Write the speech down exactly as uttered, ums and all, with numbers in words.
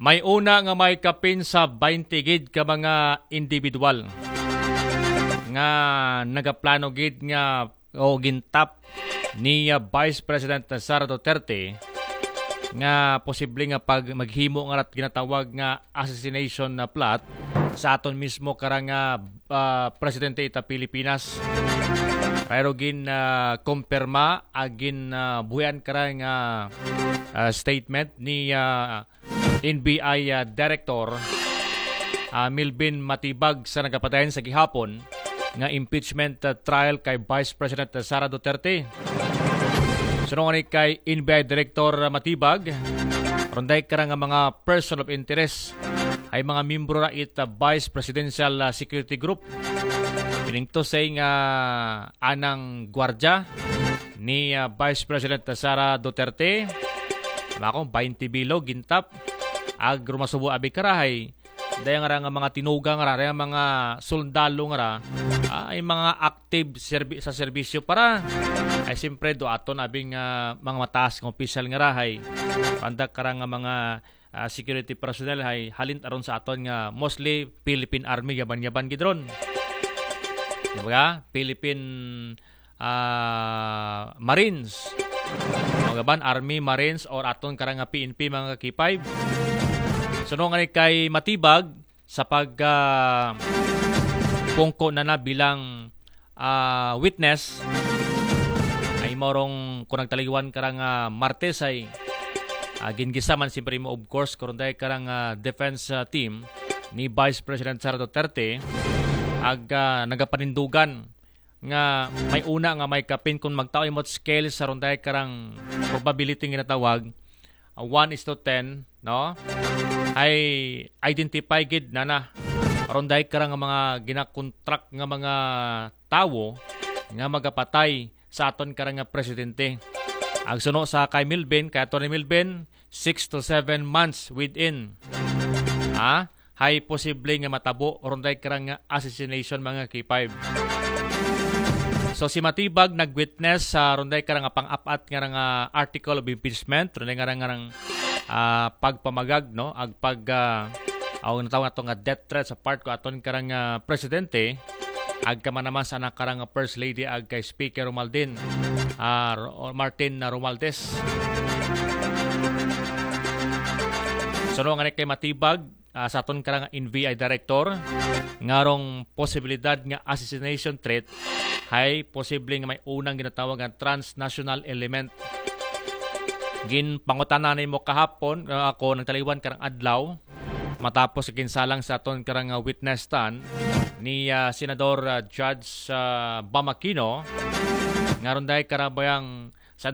May una nga may kapin sa baynte gid ka mga individual nga nagaplano gid nga o gintap ni ah, Vice President Sara Duterte nga posible nga pag maghimo nga rat ginatawag nga assassination na plot sa aton mismo karang ah, ah, presidente ita Pilipinas. Pero gin ah, kumpirma agin ah, buhian karang ah, ah, statement ni ah, N B I ah, Director ah, Milvin Matibag sa nagapadayon sa gihapon nga impeachment ah, trial kay Vice President Sara Duterte. Sunod ni kay N B I Director Matibag, runday kara nga mga person of interest ay mga miyembro ra it ah, Vice Presidential ah, Security Group. Piningto say nga anang gwardya ni ah, Vice President Sara Duterte. Mako, baynte bilo, gintap. Ag rumasubo abi karahay. Daya nga ra nga mga tinugang ra, daya mga sundalo nga ra, ah, ay mga active serbi- sa serbisyo para. Ay siyempre, do aton abing ah, mga mataas nga opisyal nga rahay. Pandak kara nga mga ah, security personnel hay halin aron sa aton nga mostly Philippine Army, yaban-yaban gid ron. Di ba? Philippine ah, Marines. Mga ban, Army, Marines, or aton karang nga P N P, mga K five. Sunod nga ni kay Matibag sa pag ah, pungko na na bilang ah, witness ay morong kung nagtaliwan karang ah, Martes ay ah, gingisa man siyempre mo, of course, karon dahil karang ah, defense ah, team ni Vice President Sara Duterte ag ah, nagapanindugan nga may una nga may kapin kung magtaoy mo scale sa runday karang probability nga ginatawag, ah, one is to ten, no? Ay identify gid na na. Runday karang mga ginakontrak nga mga tawo nga magapatay sa aton karang nga presidente. Ang suno sa kay Milvin, kay Attorney Milvin, six to seven months within. Ha? Hay posible nga matabo runday karang nga assassination, mga K five. So si Matibag nag-witness sa runday karang nga pang-apat nga nga article of impeachment, runday nga nga ah, pagpamagag, no, ag pag ah, aw natawag nato nga death threat sa part ko aton karang ah, presidente, ag kamanaman sa anak karang First Lady ag kay Speaker Romaldin ah, Ro- Martin na Romualdez. Sunod nga ni kay Matibag, ah, sa aton karang N B I Director, ngarong posibilidad nga assassination threat hay posible nga may unang ginatawag nga transnational element. Ginpangutana nimo kahapon, ah, ako nagtaliwan karang adlaw matapos sa ginsalang sa aton karang ah, witness stand ni ah, Senador ah, Judge ah, Bam Aquino, ngaron dahil karabayang